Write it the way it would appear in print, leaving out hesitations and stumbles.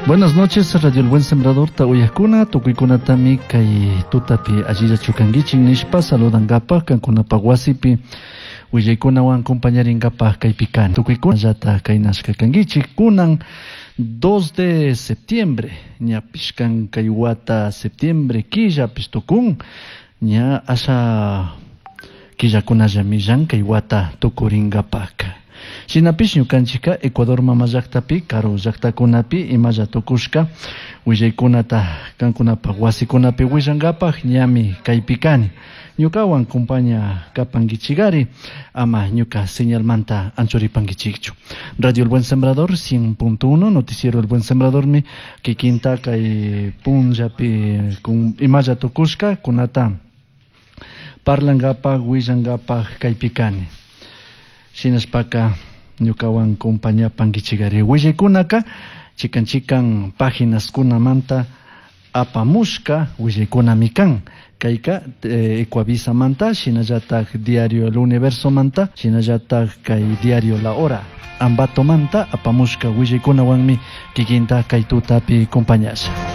Buenas noches, Radio El Buen Sembrador, uyajkuna, tukuykunatami kay tutapi allillachu kankichik nishpa saludankapaj kankunapaj wasipi willaykunawan compañarinkapaj kaypi kani. Tukuykunallata kaynashka kankichik kunan 2 de septiembre, ñapish kan kay wata septiembre killapish tukun, ña asha killakunallami llankay wata tukurinkapaka. Shinapish ñukanchikka Ecuador mama llaktapi karu llaktakunapi imalla tukushka willaykunata kankunapaj wasikunapi willankapaj ñami kaypi kani. Ñukawan compaña kapankichikari ama ñuka señalmanta anchuripankichikchu. Radio El Buen Sembrador 100.1, Noticiero El Buen Sembradormi kikinta kay punllapi imalla tukushka kunata parlankapaj willankapaj kaypi kani. Shinashpaka ñukawan compañapankichikari willaykunaka chikan chikan páginas-kunamanta apamushka willaykunami kan. Kayka Ecuavisamanta, shinallatak Diario El Universomanta, shinallatak kay Diario La Hora Ambatomanta apamushka willaykunawanmi kikinta kay tutapi compañasha.